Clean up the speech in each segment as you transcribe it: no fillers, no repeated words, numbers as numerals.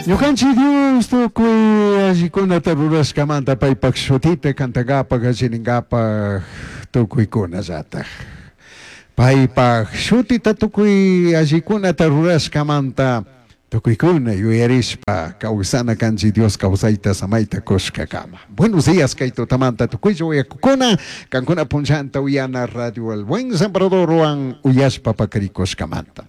Ñukanchik Dios tukuy allikunata rurashkamanta paypak shutita kantankapak allininkapak tukuykunallatak. Paypak shutita tukuy allikunata rurashkamanta tukuykuna yuyarishpa kawsana kanchik Dios kawsayta samayta kushkakama. Buenos días kay tutamanta tukuylla uyakukuna kankuna punllanta uyana Radio El Buen Sembradorwan uyashpa pakarikushkamanta.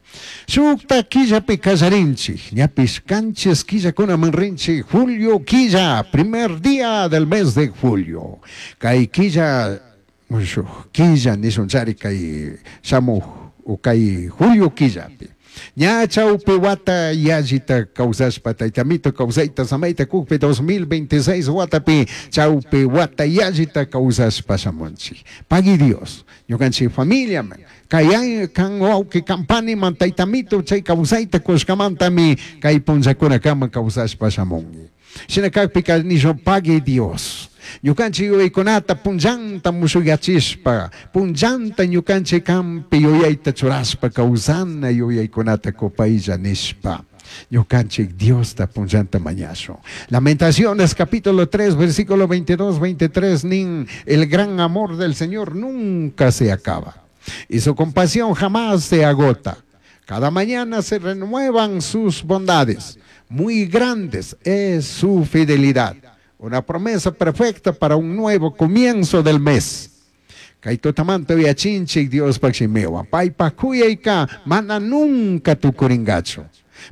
Shukta killapi kallarinchik, ñapish kanchis killakunaman rinchik julio killa, primer día del mes de julio. Kay killa mushuk killa nishunchari kay shamuj o kay julio killapi. Ña chawpi wata yallita kawsashpa taytamito kawsayta samayta kukpi 2026 watapi chawpi wata yallita kawsashpa shamunchik. Pagui Dios, ñukanchik familiaman, kay kan wawqi kampaniman taytamito chay kawsayta kushkamantami kay punllakunakama kawsashpa shamunki. Shina kakpika nishun pagui Dios. Ñukanchik yuyaykunata punllanta mushuyachishpa, punllanta ñukanchik kampi yuyayta churashpa kawsana yuyaykunata kupaylla nishpa. Ñukanchik Diosta punllanta mañashun. Lamentaciones capítulo 3 versículo 22, 23 nin, el gran amor del Señor nunca se acaba y su compasión jamás se agota. Cada mañana se renuevan sus bondades. Muy grandes es su fidelidad. Una promesa perfecta para un nuevo comienzo del mes. Kay tutamanta uyachinchik Diospaj shimiwan. Paypak kuyayka mana nunca tukuringachu.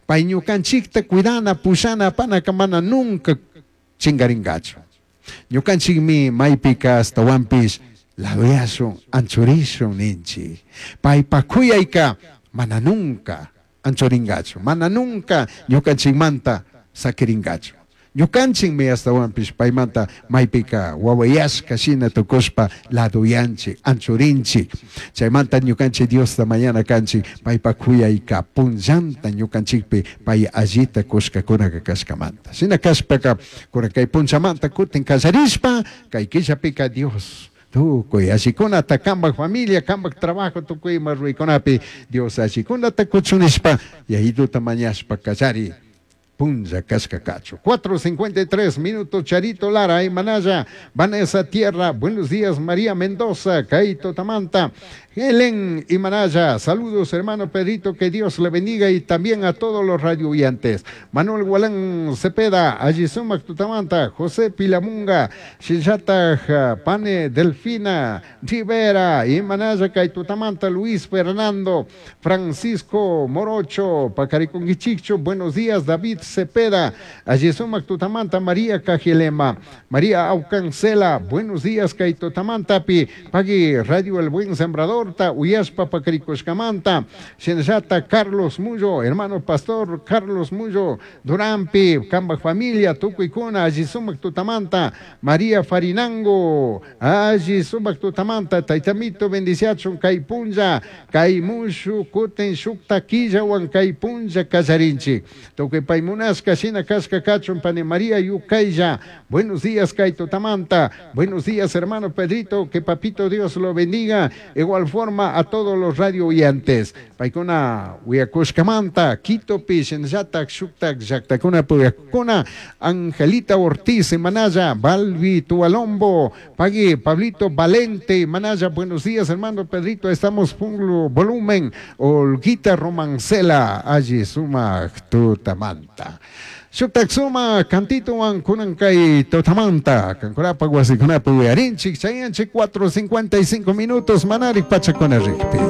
Pay ñukanchikta cuidana, pushana, apanaka mana nunca chingaringachu. Ñukanchikmi maypika ashtawanpish laduyashun, anchurishun ninchik. Paypak kuyayka mana nunca anchuringachu, mana nunca ñukanchikmanta sakiringachu. Ñukanchikmi ashtawanpish paymanta maypika wawayashka shina tukushpa laduyanchik, anchurinchik. Chaymanta ñukanchik Diosta mañana kanchik paypak kuyayka punllanta ñukanchikpi pay allita kushkakunaka kashkamanta. Shina kashpaka kunan kay punchamanta kutin kallarishpa kay killapika Dios tukuy allikunata kampak familia, kampak trabajo tukuy ima ruraykunapi Dios allikunata kuchun nishpa Yayituta mañashpa kallari punlla kashka kachu. 4:53 minutos, Charito Lara, Imanaya, Vanessa Tierra, buenos días María Mendoza, Kaito Tamanta, Helen Imanaya, saludos hermano Pedrito, que Dios le bendiga y también a todos los radioyentes. Manuel Gualán Cepeda, Ayisumac Tutamanta, José Pilamunga, Shillata Pane Delfina, Rivera, Imanaya Kaitutamanta, Luis Fernando, Francisco Morocho, Pacariconguichicho, buenos días David Cepeda, Ayisumac Tutamanta, María Cajilema, María Aucancela, buenos días Kaitotamantapi, Pagui Radio El Buen Sembrador, Uyaspa Pacarikushkamanta, Shinshata Carlos Mullo, hermano pastor Carlos Mullo, Durampi, Kamba familia, Tukuykuna, Ayisumac Tutamanta, María Farinango, Ayisumac Tutamanta, Taitamito bendiciachun Kaypunlla, Kaymushu, Kuten Shukta Killawan Kaypunlla Kallarinchi, Tukuy Paymunaska, Shina Kashka Kachun, Pane María Yucaylla, buenos días Kaitutamanta, buenos días hermano Pedrito, que papito Dios lo bendiga, igual forma a todos los radio oyentes. Paykuna uyakushkamanta, Quitopi, Shinllatak, Shuktak, Llaktakuna, Puyakuna, Angelita Ortiz, Manaya, Balbi, Tualombo, Pagui, Pablito Valente, Manaya, buenos días hermano Pedrito, estamos full volumen, Olguita Romancela, allí suma tutamanta. Shuktak suma kantituwan kunan kay tutamanta, kankunapa wasikunapa uyarinchik, chayanchik 4:55 minutos, manarik pachakuna rikpi.